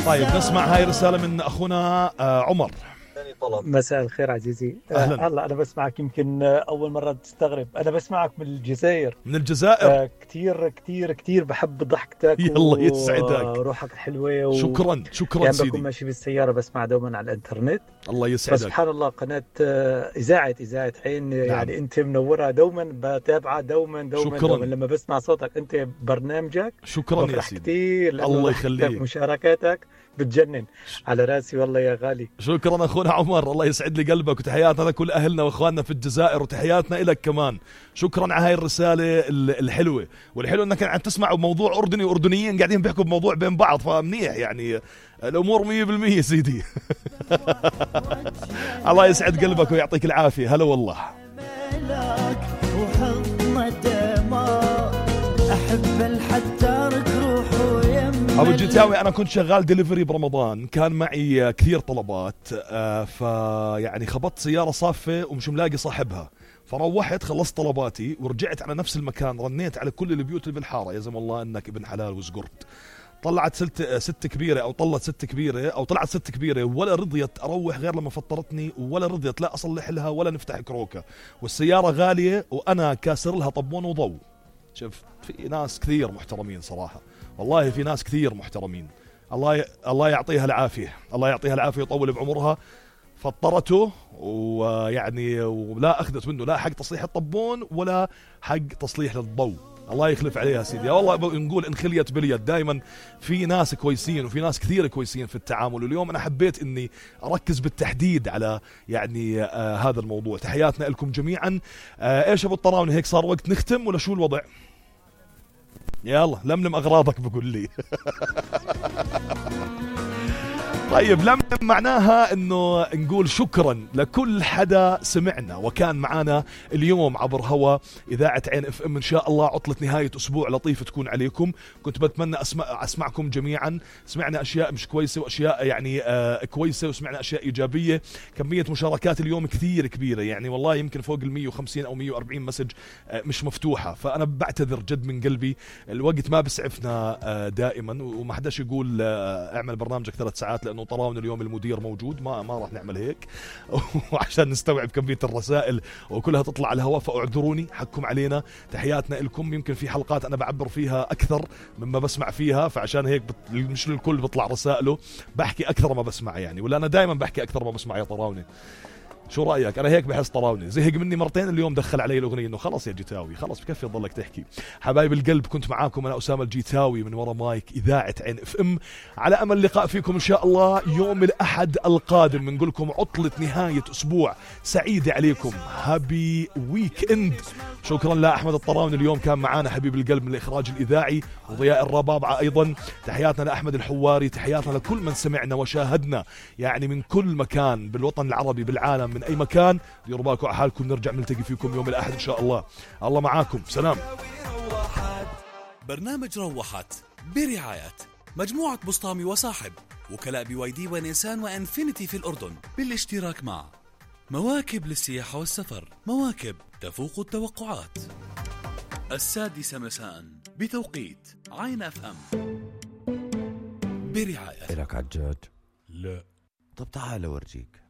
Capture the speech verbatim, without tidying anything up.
طيب نسمع هاي رسالة من أخونا عمر. مساء الخير عزيزي. أهلا. هلا أنا بسمعك يمكن أول مرة تستغرب، أنا بسمعك من الجزائر. من الجزائر. آه كتير كتير كتير بحب ضحكتك. يلا يسعدك. وروحك الحلوة. و... شكرا شكرا يعني سيدي. بكون ماشي بالسيارة بسمع دوما على الإنترنت. الله يسعدك. سبحان الله قناة إذاعة إذاعة عين. نعم. يعني أنت منورة دوما، بتابعها دوما دوما, شكرا. دوما لما بسمع صوتك أنت برنامجك. شكرا يا سيدي كتير الله يخليك. مشاركاتك بتجنن على راسي والله يا غالي. شكرا أخونا عمر، الله يسعد لي قلبك، وتحياتنا لكل أهلنا وإخواننا في الجزائر، وتحياتنا إلك كمان. شكرا على هاي الرسالة الحلوة، والحلو أنك عم تسمع موضوع أردني وأردنيين قاعدين بيحكوا بموضوع بين بعض، فمنيح يعني الأمور مية بالمية سيدي. الله يسعد قلبك ويعطيك العافية. هلا والله. أحب الحتارك روحه أبو الجتاوي. أنا كنت شغال ديليفري برمضان، كان معي كثير طلبات، آه فيعني خبطت سيارة صافة ومش ملاقي صاحبها، فروحت خلصت طلباتي ورجعت على نفس المكان، رنيت على كل البيوت اللي بالحارة، يا زم الله أنك ابن حلال وزقرت. طلعت ست, ست كبيرة أو طلت ست كبيرة أو طلعت ست كبيرة ولا رضيت أروح غير لما فطرتني، ولا رضيت لا أصلح لها ولا نفتح كروكة، والسيارة غالية وأنا كاسر لها طبون وضوء. شوف في ناس كثير محترمين صراحة، والله في ناس كثير محترمين، الله ي... الله يعطيها العافية، الله يعطيها العافية ويطول بعمرها. فطرته ويعني ولا أخذت منه لا حق تصليح الطبون ولا حق تصليح للضوء، الله يخلف عليها سيدي. والله نقول إن خليت باليد، دائما في ناس كويسين وفي ناس كثير كويسين في التعامل، واليوم أنا حبيت إني أركز بالتحديد على يعني آه هذا الموضوع. تحياتنا لكم جميعا. آه إيش أبو الطراوني، هيك صار وقت نختم ولا شو الوضع؟ يلا لملم أغراضك بقول لي. طيب لملم معناها انه نقول شكرا لكل حدا سمعنا وكان معنا اليوم عبر هوا إذاعة عين اف ام. ان شاء الله عطلة نهاية اسبوع لطيفة تكون عليكم. كنت بتمنى اسمع اسمعكم جميعا. سمعنا اشياء مش كويسة واشياء يعني آه كويسة، وسمعنا اشياء ايجابية. كمية مشاركات اليوم كثير كبيرة، يعني والله يمكن فوق ال مية وخمسين او مية وأربعين مسج آه مش مفتوحة، فانا بعتذر جد من قلبي. الوقت ما بسعفنا آه دائما، وما حداش يقول آه اعمل برنامجك ثلاث ساعات لانه طراون اليوم المدير موجود، ما ما راح نعمل هيك. وعشان نستوعب كمية الرسائل وكلها تطلع على الهواء، فاعذروني حقكم علينا. تحياتنا لكم. يمكن في حلقات انا بعبر فيها اكثر مما بسمع فيها، فعشان هيك بت... مش للكل بيطلع رسائله، بحكي اكثر ما بسمع يعني، ولا انا دائما بحكي اكثر ما بسمع يا طراوني. شو رأيك؟ أنا هيك بحس طراوني زهق مني مرتين اليوم، دخل علي الأغنية إنه خلص يا جيتاوي خلص بكفي تضلك تحكي. حبايب القلب كنت معاكم أنا أسامة الجيتاوي من ورا مايك إذاعة عين اف ام، على أمل اللقاء فيكم إن شاء الله يوم الأحد القادم. بنقول لكم عطلة نهاية أسبوع سعيدة عليكم، هابي ويك إند. شكرا لأحمد الطراوني اليوم كان معانا حبيب القلب من الإخراج الإذاعي، وضياء الربابعة أيضا. تحياتنا لأحمد الحواري، تحياتنا لكل من سمعنا وشاهدنا يعني من كل مكان بالوطن العربي بالعالم، من أي مكان. ديروا بالكم على حالكم، نرجع نلتقي فيكم يوم الأحد إن شاء الله. الله معاكم، سلام. برنامج روحت برعاية مجموعة بسطامي وصاحب، وكلاء بي واي دي ونيسان وانفينيتي في الأردن، بالاشتراك مع مواكب للسياحة والسفر، مواكب تفوق التوقعات. السادسة مساء بتوقيت عين اف ام برعاية. إلك عجاج؟ لا. طب تعال أورجيك.